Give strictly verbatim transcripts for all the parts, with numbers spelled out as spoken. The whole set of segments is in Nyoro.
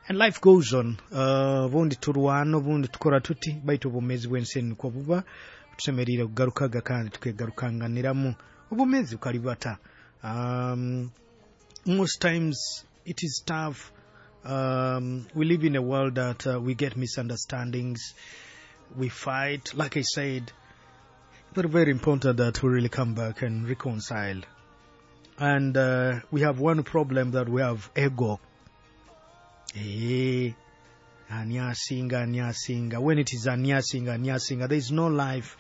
And life goes on. Uh, obundi turwana, obundi tukora tuti, baitu obwomeezi bw'ensi enu nikwo buba. Tusemeriire kugarukaga kandi tukegarukanganiramu. Obwomeezi bukalibata. Um, most times it is tough. Um, we live in a world that uh, we get misunderstandings, we fight. Like I said, but very important that we really come back and reconcile. And uh, we have one problem, that we have ego. Eh, ani asinga, ani asinga. When it is ani asinga, ani asinga, there is no life.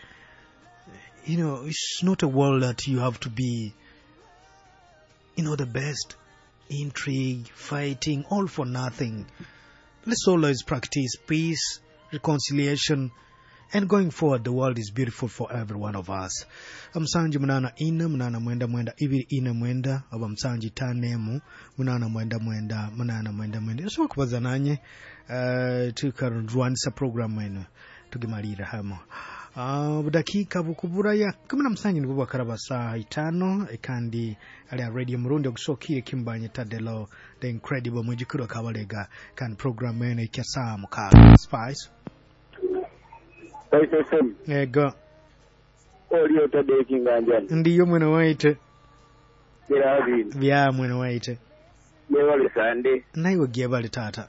You know, it's not a world that you have to be, you know, the best. Intrigue, fighting, all for nothing. Let's always practice peace, reconciliation, and going forward, the world is beautiful for every one of us. Musanju munana ina munana mwenda mwenda ibiri ina mwenda, oba musanju itaano emu munana mwenda mwenda munana mwenda mwenda. Osobola kubaza nanye, uh, tukarwanisa program eno tugimalira hamo. Uh, budakiika bukuburaya kumi na musanju nibwo bwakaraba saaha itaano, kandi ali radio murundi ogusookiire kimbanye Tadelo the Incredible mwijukuru akabalega, kandi program eno ikya saa mukaaga. Spice. Spice F M. Ego. Oli otadde ekinganjani. Ndiyo mwene waite. Gerabini. Bya mwene waite. Yebale Sande. Naiwe gyebale taata.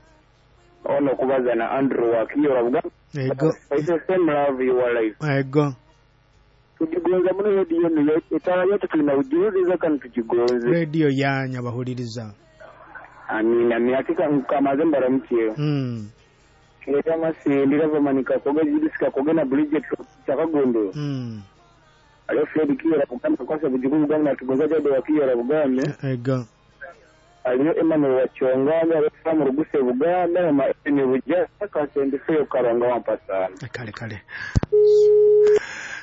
Ono kubaza na Andrew Wakiyo Buganda. Ego. Spice F M, love your life. Ego. Tukigonza muno radio eno etala yote tulina ujuzi kandi tukigonze. Radio yanya bahuliriza. Amina, miakika nkamaze mbaramukye. Mm. Kireta masindi rava koga jidisika koga na Bridget chakagondo. Mm. Aliyo Fred Kiyora Buganda kwasa bujugu Buganda tugonza jade wa Kiyora Buganda. Ego. Aliyo Emmanuel Wachonganya aliyo Sam Ruguse Buganda ma Eni Buja kasende feyo karanga wampasana. Kale kale.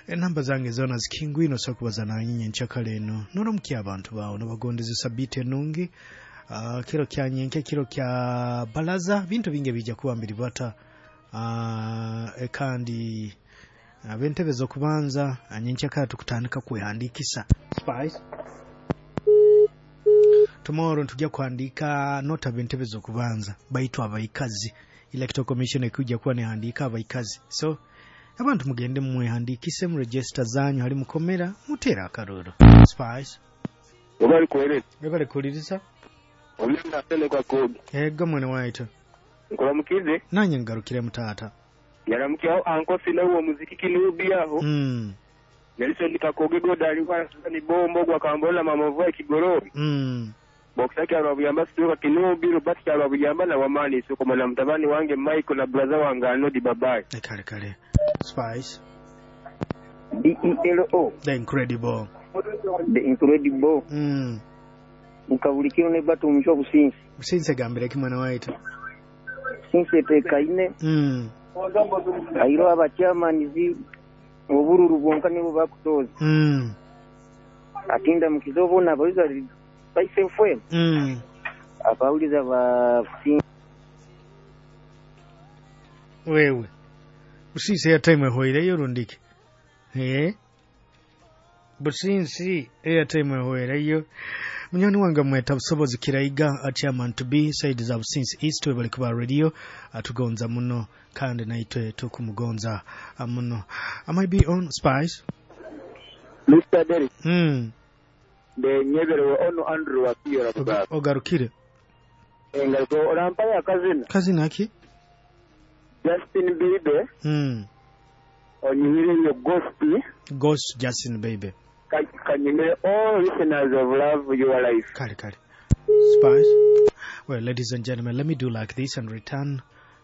Enamba zange zona zikingwino so kubaza nanyinyi nchakale eno. Noramukia abantu bawo nabagondeze sabite enungi. Uh, kiro kya nyenke, kiro kya balaza, bintu bingi bijja kuba mbiribata. Uh, kandi ab'entebe z'okubanza anyenkyakala tukutandika kwehandikisa. Spice. Tomorrow ntujja kuhandika not ab'entebe z'okubanza baitu abaikazi. Electoral Commission ekujja kuba nehandika abaikazi. So abantu mugende mwehandikise mu register zanyu hali mukomera mutera akaruru. Spice. Obali kwere. Ebale kuliriza. Omenda tele kwa kodi. Ego mwene waitu. Nkolamukize. Nanye ngarukire mutata. Yaramukiaho anko sina uwo muziki kinubi aho. Mm. Nelson Kakoge goda alikuwa ni bombo kwa kambola mama mvua kigorori. Mm. Boxaki arabuyamba situka kinubi Robert arabuyamba na wamani soko mwana mtabani wange Michael na brother wange Anodi babaye. Kale kale. Spice. D E L O. The Incredible. The Incredible. Mm. Mukabulikiro ne batu omusho businsi. Businsi gambire ki mwana waitu. Businsi etekaine. Mm. Airo abachairman obururu bwonka nibo bakutoza. Mm. Atinda mukizobo na abawiza Spice F M. Mm. Abawuliza ba businsi. Wewe. Businsi airtime ehoireyo rundike. Eh? Businsi airtime ehoireyo. Munyoni wange mweta busobozi kiraiga chairman to be side za Businsi East webali kuba radio atugonza muno kandi naitwe tukumugonza muno. I might be on Spice. Mister Derek. Mm. De nyeberewe ono Andrew Wakiyo Buganda. Ogarukire. Engazo orampaya kazina. Kazina ki? Justin Bieber. Mm. Onyimire yo Ghost. Ghost Justin Bieber. Kanyimire all listeners of Love Your Life. Kale kale. Spice. Well, ladies and gentlemen, let me do like this and return.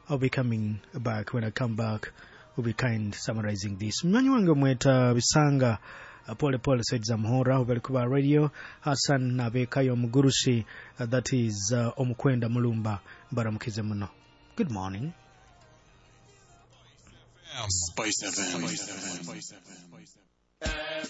I'll be coming back. When I come back, we'll be kind summarizing this. Mnyonyi wange mweta Bisanga pole pole said Zamhora ubali kuba radio Hassan Nabekayo Mugurusi, uh, that is uh, Omukwenda Mulumba baramukize muno. Good morning. Spice F M. Spice F M.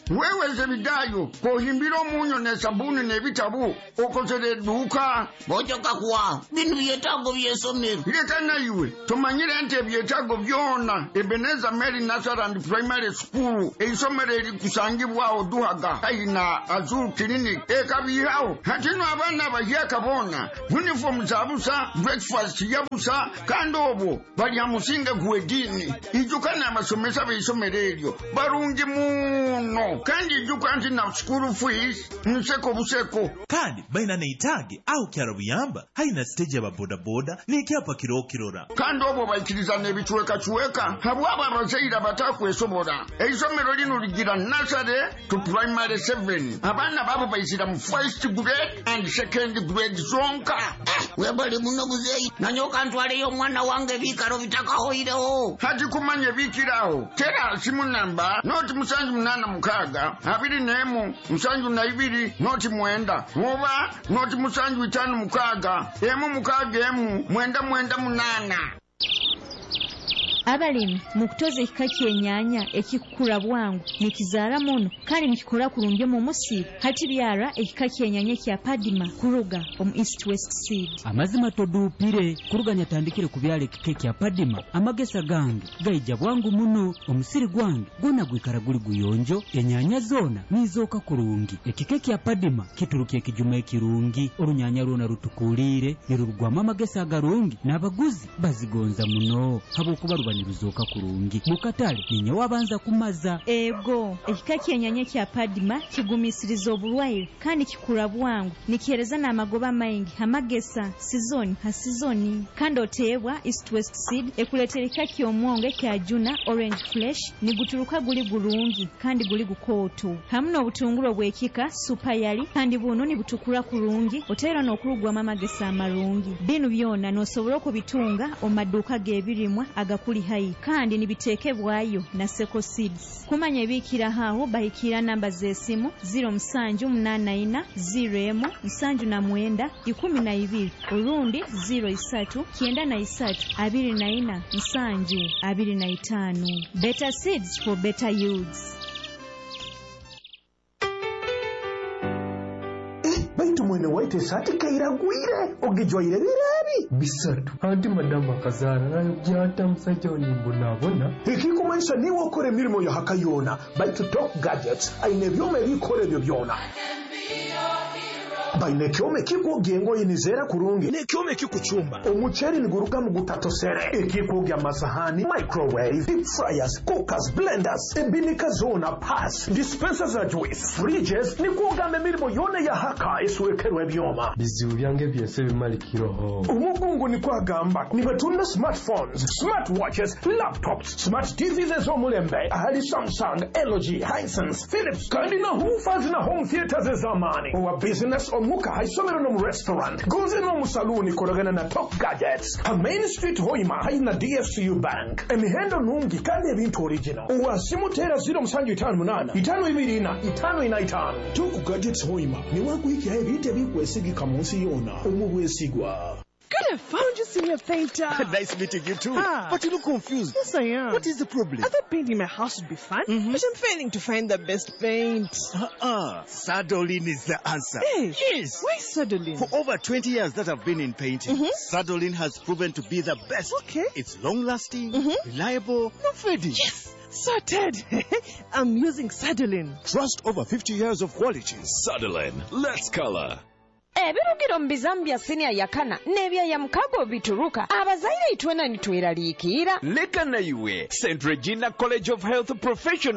Wewe Zebidayo, kohimbira omunyo n'esabuni n'ebitabu, okozere edduuka. Bojoka kuwa binu byetaago by'essomero. Leka naiwe, tomanyire nti ebyetaago byona Ebenezer Mary Nursery and Primary School, eisomero erikusangibwaho Duhaga haihi na Azul Clinic, ekabihaho. Hatino abaana abahyaka boona uniform za busa, breakfast ya busa, kandi obwo balya musinge gw'ediini. Ijuka n'abasomesa b'eisomero eryo barungi muno, kandi ijuka nti na school fees nseko buseko. Kandi balina neitaage aho kyaro buyamba haina siteegi y'ababodaboda n'ekyapa kirokirora. Kandi obwo baikiriza n'ebicwekacweka habwabo abazaire abatakwesobola. Eisomero lino ligira nursery to primary seven. Abaana babo baizira mu first grade and second grade zonka. Webale muno muzeeyi, nanyoka ntwaleyo omwana wange ebiikaro bitakahoireho. Hati kumanya ebikiraho, tera simu namba noti musanju munana mukaaga abiri n'emu musanju na ibiri noti mwenda, oba noti musanju itaano mukaaga emu mukaaga emu mwenda mwenda munana. Abalimi mukutoza ekika ky'enyaanya ekikukura bwangu nikizaara muno kandi nikikora kurungi omu musiri. Hati byara ekika ky'enyaanya kya Padima kuruga omu East West Seed. Amazima toduupire kuruga nyatandikire kubyala ekika kya Padima, amagesa gange gaija bwangu muno, omusiri gwange gwona gwikara guli guyonjo, enyaanya zoona nizooka kurungi. Ekika kya Padima kituruka ekijuma ekirungi, orunyanya rwona rutukuliire nirurugwamu amagesa agarungi, n'abaguzi bazigonza muno habwokuba ruba niruzooka kurungi. Mukatale ninye wabanza kumaza. Ego, ekika ky'enyaanya kya Padima kigumisiriza oburwaire kandi kikura bwangu, nikihereza n'amagoba maingi amagesa sizoni ha sizoni. Kandi oteebwa East West Seed ekuleetera ekika ky'omwongo ekya Juna Orange Flesh, niguturuka guli gurungi kandi guli gukooto, hamu n'obutunguru obw'ekika Super Yali, kandi buno nibutukura kurungi oteera n'okurugwamu amagesa amarungi. Binu byona n'osobola okubitunga omu maduuka g'ebirimwa agakuli hai, kandi nibitekebwayo na Seko Seeds. Kumanya ebikiraho aho bahikira namba z'esimu ziro musanju munana ina ziro emu nsanju na mwenda ikumi na ibiri, orundi ziro isatu kyenda na isatu abiri na ina nsanju abiri na itaano. Better seeds for better yields. Baitu mwene waitu esati kairagwire ogijwaire birebi bisatu anti madamu akazaara nayo byata musajja onimbonabona. Ekikumanyisa niwe okora emirimo ya haka yona, baitu Top Gadgets aine ebyoma ebikora ebyo byona. Baine ekyoma ekikwogya engoye nizeera kurungi n'ekyoma ekikucumba omuceeri niguruga mu gutatosere, ekikwogya amasahani, microwave, deep fryers, cookers, blenders, ebinika zoona, pass dispenser za juice, fridges, nikwogamba emirimo yona ya haka eswekerwa ebyoma. Bizibu byange byose bimalikiroho. Omugungu nikwo agamba nibatunda smartphones, smartwatches, laptops, smart T Vs ez'omulembe ahali Samsung, L G, Hisense, Philips, kandi na woofers na home theaters ez'amaani. Owa business, omuka, haisomero n'omu restaurant gonze n'omu saloon, koragana na Top Gadgets ha Main Street Hoima haihi na D F C U Bank. Emihendo nungi kandi ebintu original. Owasimu tera ziro musanju itaano munaana itaano ibiri ina itaano ina itaano. Top Gadgets Hoima niwakuhikiraho ebintu ebikwesigika mu nsi yoona omu bwesigwa. Good, I found you, senior painter. Nice meeting you too. Ah. But you look confused. Yes, I am. What is the problem? I thought painting my house would be fun, but I'm failing to find the best paint. Uh-uh. Sadolin is the answer. Hey. Yes. Why Sadolin? For over twenty years that I've been in painting, Sadolin has proven to be the best. Okay. It's long-lasting, reliable, no fading. Yes, sorted. I'm using Sadolin. Trust over fifty years of quality. Sadolin, let's color. Ebirugiro mu bizamu bya siniya yakana n'ebyaya mukago bituruka abazaire itwena nitweraliikirira. Leka naiwe, Saint Regina College of Health Professionals.